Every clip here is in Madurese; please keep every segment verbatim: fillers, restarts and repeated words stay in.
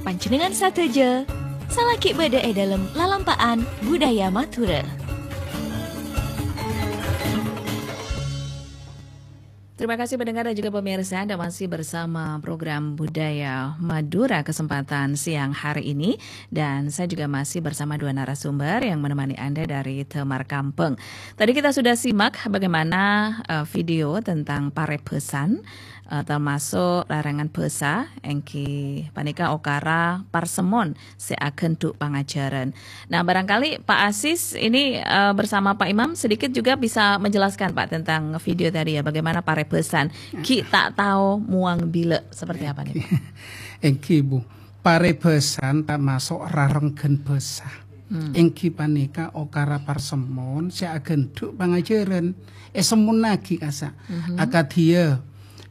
Panjhennengngan sadhâjâ, salaghi bâdâ è dâlem lalampa'an budaya Madhurâ. Terima kasih pendengar dan juga pemirsa, Anda masih bersama program Budaya Madura kesempatan siang hari ini. Dan saya juga masih bersama dua narasumber yang menemani Anda dari Damar Kampung. Tadi kita sudah simak bagaimana, eh, video tentang parèbhâsan, eh, termasuk larangan bhâsa, èngghi panèka okara parsemmon sè aghândhu' pangajhârân. Nah, barangkali Pak Asis ini, eh, bersama Pak Imam sedikit juga bisa menjelaskan, Pak, tentang video tadi ya, bagaimana parèbhâsan. Ghi' ta' tao mowang bilâ, seperti apa nih, Pak? Èngghi, Bu. Parèbhâsan tamaso' rarengghân bhâsa. Hmm. Èngghi panèka okara parsemmon sè aghândhu' pangajhârân. Èsemmonnaghi kassa'. Mhm. Akadhi ya,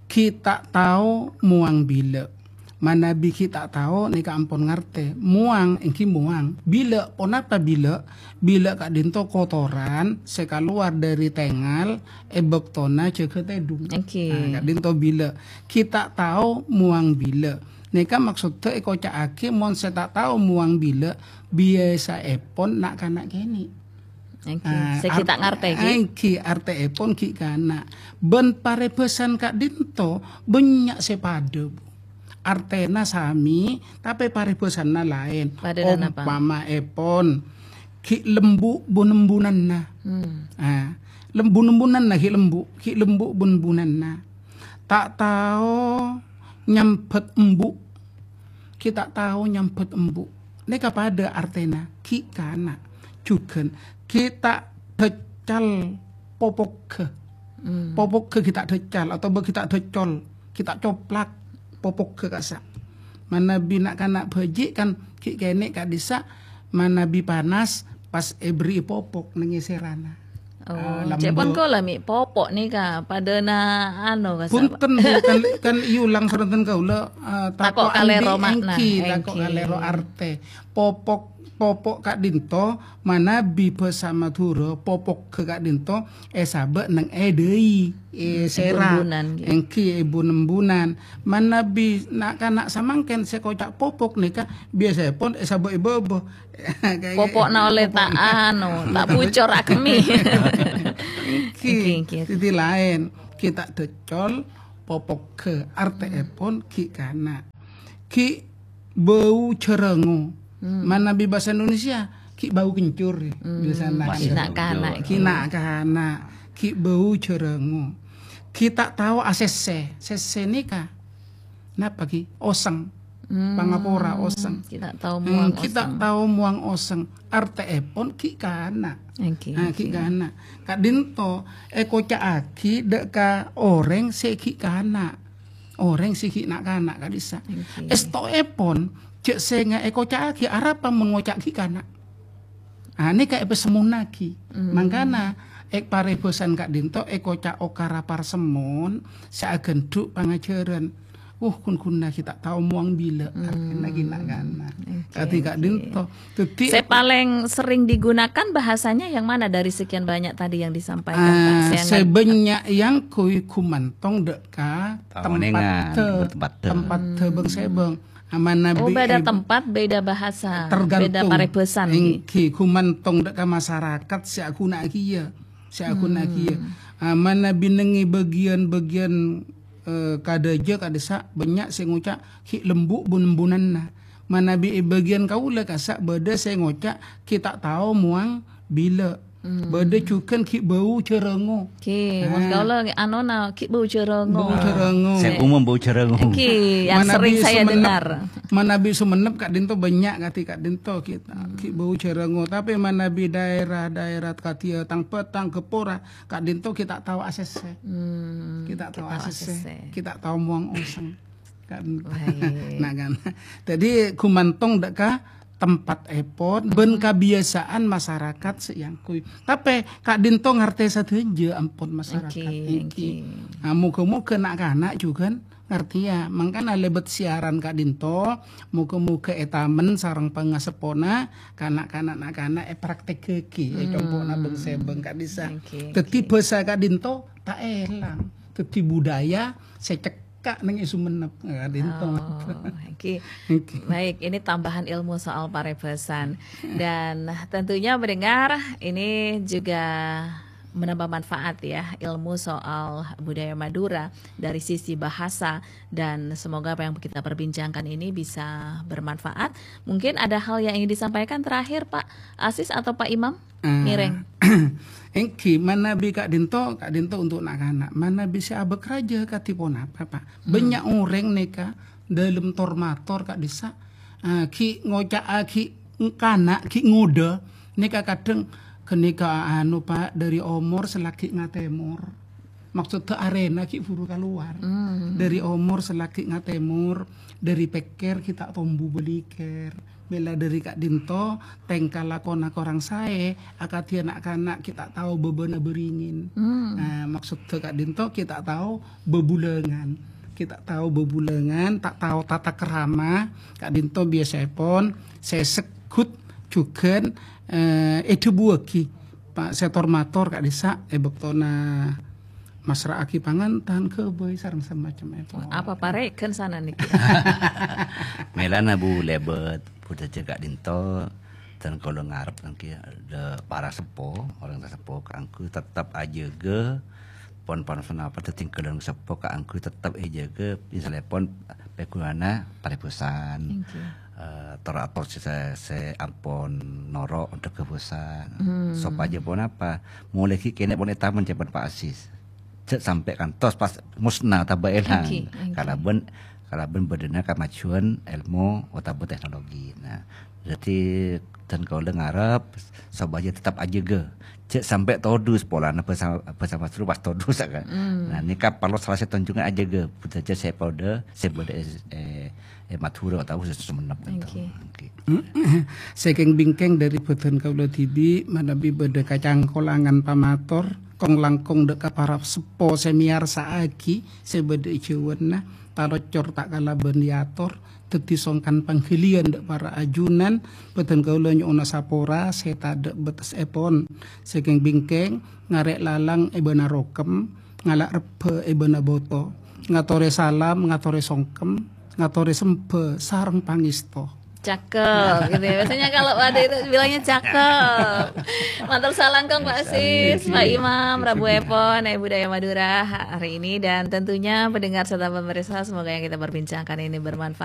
ghi' ta' tao mowang bilâ. Manabi ghi' ta' tao nèka ampon ngartè. Mowang èngghi mowang. Bilâ, ponapa bilâ? Bilâ ka'dinto kotoran sè kalowar dâri tèngal è bâktona jâgâ tèdung. Èngghi. Nah, ka'dinto bilâ. Ghi' ta' tao mowang bilâ. Nèka maksodda èkoca'aghi mon sè ta' tao mowang bilâ, biyasaèpon na'-kana' kènè'. Èngghi, ah, sè ghi' ta' ngartè, ghi'? Èngghi, artèèpon ghi' kana'. Bân parèbhâsan ka'dinto bânnya' sè padâ, Bu. Artèna sami, tapè parèbhâsanna laèn. Padâna napa? Ompamaèpon, ghi' lembu' bun-embunanna. Hmm. Ah, lembu'-embunanna ghi' lembu', ghi' lembu' bun-embunanna. Ta' tao nyambhât embu'. Ghi' ta' tao nyambhât embu'. Nèka padâ artèna, ghi' kana'. Jhughân, ghi' ta' dâccal popogghâ. Hmm. Popogghâ ghi' ta' dâccal, otabâ ghi' ta' dâccol, ghi' ta' coplak popogghâ kassa'. Manabi na'-kana' bhâji' kan ghi' kènè' ka'dissa', manabi panas pas èberri'i popok neng è sèrana. Oh, ah, cè' pon lembu'. Kaulâ mè' popo' nèka padâna anu, kassa', Pak. Bhunten, Bu, kan, kan èyulang sareng kaulâ, eh, tako' tako' kalèro andi' ma'na, èngghi, tako' èngghi. Kalèro artè. Popok, popo' ka'dinto manabi bhâsa Madhurâ, popogghâ ka'dinto èsabâ' neng è dâi, è sèrana. Hmm, è bun-embunan, ghi. Èngghi, è bun-embunan. Manabi na'-kana' samangkèn sè koca' popok nèka biyasaèpon èsabâ' è bâbâ. Popo'na ollè ta' anu, ta' bucor akemmè. Èngghi, èngghi, èngghi. Dhâddhi laèn. Ghi' ta' dâccol, popogghâ. Artèèpon ghi' kana'. Ghi' bâu jhârângo. Hmm. Manabi bhâsa Indonesia, ghi' bâu kencur, ya. Hmm. Biasana. Masih na'-kana', ghi' na'-kana'. Ghi' bâu jhârângo. Ghi' ta' tao asèssè. Sèssè nèka napa, ghi? Osèng. Hmm. Pangapora, osèng. Ghi' ta' tao mowang osèng. Hmm, ghi' ta' tao mowang osèng. Artèèpon ghi' kana'. Èngghi, ah, ghi' èngghi. Kana'. Ka'dinto èkoca'aghi dâ' ka orèng sè ghi' kana'. Orèng sè ghi' na'-kana' ka'dissa'. Èngghi. Èstoèpon, jhâ' sènga' èkoca'aghi arapa mon ngoca' ghi' kana'. Ah, nèka èpasemmonnaghi. Hmm. Mangkana, è parèbhâsan ka'dinto èkoca' okara parsemmon sè aghândhu' pangajhârân. Wuh, ghun-ghunna ghi' ta' tao mowang bilâ, hmm, artèna ghi' na'-kana'. Oke, kadhi oke. Ka'dinto. Dhâddhi sè palèng sering digunakan bahasanya yang mana dari sekian banyak tadi yang disampaikan, Pak? Ah, sè bânnya' èyangghuy ghumantong dâ' ka tempatta, tempatta. Hmm. Bâng-sèbâng. Manabi, oh, beda tempat, beda bahasa, tergantung, beda parèbhâsan, èngghi, ghumantong dâ' ka masarakat sè aghuna'aghi, ya. Sè aghuna'aghi, ya. Hmm. Ah, manabi neng è bâgiyân-bâgiyân, eh, kadhâjâ ka'dissa' bânnya' sè ngoca' ghi' lembu' bun-embunanna. Manabi è bâgiyân kaulâ kassa' bâdâ sè ngoca' ghi' ta' tao mowang bilâ. Hmm. Bâdâ jhughân ghi' bâu jhârângo. Ghi, mon kaulâ nge-, anona, ghi' bâu jhârângo. Bâu jhârângo. Sè umum bâu jhârângo. Ghi, yang sering saya dengar. Manabi Sumenep ka'dinto bânnya' kadhi ka'dinto ghi', ghi' bâu jhârângo. Tapè manabi daerah-daerah kadhiyâ Tang Bâtang, Gapura, ka'dinto ghi' ta' tao asèssè. Hmm, ghi' ta' tao asèssè. Ghi' ta' tao mowang osèng. Kan. Baik. Nah, kan. Dhâddhi, ghumantong dâ' ka tempatèpon, bân kabiyasaan masarakat sè èyangghuy. Tapè, ka'dinto ngartè sadhâjâ ampon masarakat nèka. Èngghi, èngghi. Nah, moghâ-moghâ na'-kana' jhughân ngartèya. Mangkana lèbât siaran ka'dinto, moghâ-moghâ è tamen sareng pangaseppona, kana'-kana' na'-kana' èpraktekkaghi, è compo'na bâng-sèbâng ka'dissa'. Èngghi, èngghi. Dhâddhi, bhâsa ka'dinto ta' èlang. Dhâddhi, budaya sè cek- cekka' neng è Sumenep, ka'dinto. Oh, oke. Oke. Baik, ini tambahan ilmu soal parèbhâsan. Dan tentunya pendengar, ini juga menambah manfaat ya, ilmu soal budaya Madura dari sisi bahasa. Dan semoga apa yang kita perbincangkan ini bisa bermanfaat. Mungkin ada hal yang ingin disampaikan terakhir, Pak Asis atau Pak Imam? Eh, Ngèrèng. Èngghi, manabi ka'dinto, ka'dinto untuk na'-kana'. Manabi sè abâk rajâ kadhi ponapa, Pak? Hmm. Bânnya' orèng nèka dâlem tor-mator ka'dissa', eh, ghi' ngoca'aghi kana', ghi' ngodâ, nèka kadhâng ghânèka anu, Pak, dâri omor sè laghi' ngatèmor. Maksudda arèna ghi' buru kalowar. Hmm. Dâri omor sè laghi' ngatèmor, dâri pèkkèr ghi' ta' tombu bâligher. Mèla dâri ka'dinto, tèngka lakona korang saè, akadhi na'-kana' ghi' ta' tao bâbâna bâringin. Hmm. Nah, maksudda ka'dinto ghi' ta' tao bâbulângan. Ghi' ta' tao bâbulângan, ta' tao tata krama, ka'dinto biyasaèpon sè segghut jhughân, eh, èdhâbuwâghi. Pa-, sè tor-mator ka'dissa' è bâktona masra'aghi pangantan, ghâbây, sareng samacemmèpon. Apa parèghân sana nèkè? Mèlana, Bu, lèbât budhâjâ ka'dinto, dân kaulâ ngarep nèkè, dâ-, para seppo, orèng seppo kaangghuy tettep ajâgâ, pon-pon sanapa dhâddhi ghâlân seppo kaangghuy tettep èjâgâ, misalèpon pèghunana parèbhâsan. Èngghi. Eh, tor-ator sè, sè, sè ampon noro' onḍhâghâ bhâsa. Hmm. Sopajâ ponapa? Molaè ghi' kènè' pon ètamen ca'èpon Pak Asis. Jhâ' sampè' kantos pas musna otabâ èlang. Èngghi, èngghi. Kalabân, kalabân bâḍâna kamajuan èlmo otabâ teknologi. Nah, dhâddhi dân kaulâ ngarep sopajâ tettep ajâgâ. Jhâ' sampè' todus polana bhâsa, bhâsa Madhurâ pas todus, kan. Hmm. Nah, nèka parlo sala sèttong jhughân ajâgâ budhâjâ sè paḍâ, sè bâḍâ è, è, è Madhurâ otabâ sè Sumenep, gitu. Èngghi. Oke. Sèkèng bingkèng dâri bhâdhân kaulâ dhibi', manabi bâḍâ kacangkolangan pamator, kong-langkong ḍâ' ka para seppo sè mèyarsa'aghi sè bâḍâ è jhâuwânna, talocor ta' kalabân èyator, dhâddhi songkan pangghâliyân ḍâ' para ajunan, bhâdhân kaulâ nyo'ona sapora sè taḍâ' bâtessèpon. Sèkèng bingkèng, ngarè' lalang è bâna rokem, ngala' rebbhâ è bâna boto, ngatorè salam, ngatorè songkem, ngatorè sembhâ sareng pangèsto. Cakep, gitu ya. Biasanya kalau ada itu bilangnya cakep. Matur salam, Kong, Pak Sis, Pak Imam, Rabu Epon, eh, Budaya Madura hari ini. Dan tentunya pendengar serta pemirsa, semoga yang kita perbincangkan ini bermanfaat.